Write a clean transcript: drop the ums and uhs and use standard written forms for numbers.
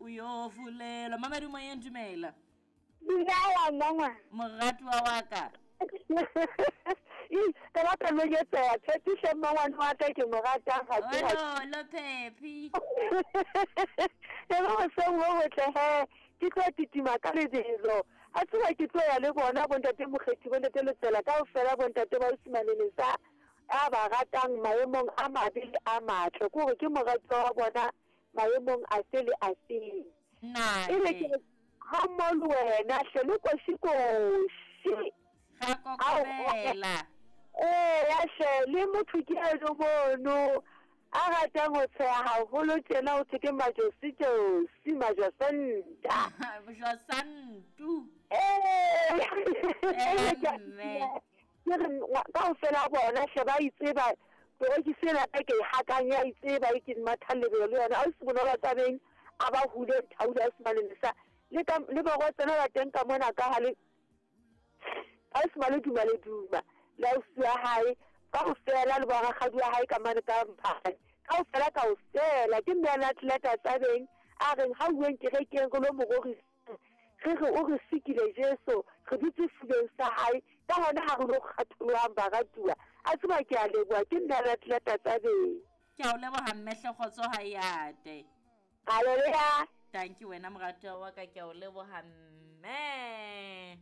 O yo fulelwa. Mamadi moyeng, dumela. Dumela mmangwana. Moratuwa wa ka. Ih, ka ba pelo ke tseya Phephi hle mmangwane wa ka ke mo ratang ga ke Ololo Phephi. E re hoseng ho hotle he ke tlo titima ka lebelo. A tseba ke tlo ya le bona bontate Mokgethi bontate Letsela kaofela bontate ba Osimane Lesa a ba ratang maemong a mabe le a matle. Ke gore ke moratuwa wa bona maemong afe le afeng. E re ke ga mmogo le wena hle le koši-koši. Ga kokobela. Ee ya hle le motho ke eno mono a ratang go tsheya gagolo tjena go thwe ke Majosi-josi, Majosanta. Josantu. Ee. Mme. Ke re kaofela bona hle ba itseba torokisi ena ka ke e hakang ya itseba e ke mathang lebelo le yona. Ausi Bonolo Tsabeng a ba hule Thaule ausi Malelesa le ka le barwetsana ba teng ka mona ka ha le ausi Maleduma Leduma le ausi wa hae kaofela le borakgadi wa hae ka mane ka Mphane kaofela kaofela ke mme ana atleta Tsabeng a reng ha uweng kerekeng re lo mo rorisa. Re re, O re sikile, Jesu, re dutse sefubeng sa Hae, ka hona ha re lo kgatholohang, baratuwa. A tseba, ke a leboha. Ke nna Ratleta Tsabeng. Ke a o leboha, mme hle, kgotso ha e ate. Haleluya. Tanki wena, moratuwa wa ka, ke a o leboha, mme.